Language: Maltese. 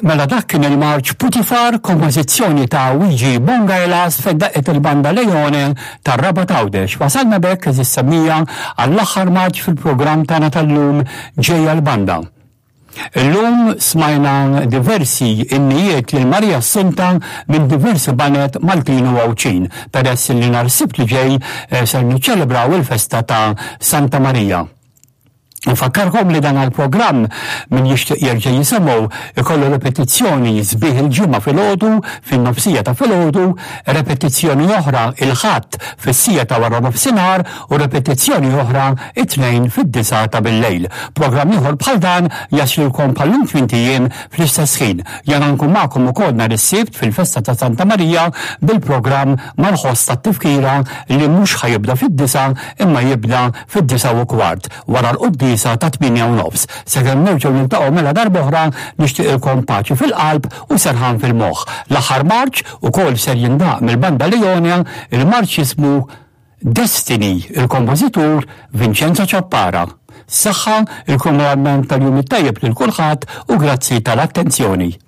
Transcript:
Mela dak kien il-marċ Putifar, kompożizzjoni ta' Luigi Bongailas fejn daqqet il-banda Leone tar-Rabat Għawdex. Wasalna b'hekk għeżież semmiegħa għall-aħħar marċ fil-programm tagħna tal-lum Ġejja l-Banda. Illum smajna diversi innijiet lil Marija Assunta minn diversi baned Maltin u Għawdxin, peress li nhar Sibt li ġej eh, ser niċċelebraw il-festa ta' Santa Marija. Nfakkarkom li dan għal-programm min jixtieq jerġa' jisimgħu ikollu repetizzjoni sbieħ il-ġimgħa filgħodu fin-nofsija ta' filgħodu, repetizzjoni oħra il-Ħadd fis-siegħa ta' wara nofsinhar u repetizzjoni oħra it-Tnejn fid-disgħa ta' billejl. Programm ieħor bħal dan jaslilkom bħal-lum tmint ijiem fl-istess ħin. Jana nkun magħkom ukoll nhar is-Sibt fil-festa ta' Santa Marija bil-programm mal-ħoss tat-tifkira li mhux ħa jibda fid-disgħa imma jibda fid-9:15 wara l-quddiesa tat-8:30. Sakemm nerġgħu niltaqgħu mela darb'oħra nixtieqilkom paċi fil-qalb u serħan fil-moħħ. L-aħħar marċ ukoll ser jindaqq mill-Banda Leonia, il-marċ jismu Destiny, il-kompożitur Vincenzo Ciappara. Saħħa, il-kumplament tal-jum it-tajjeb lil kulħadd u grazzi tal-attenzjoni.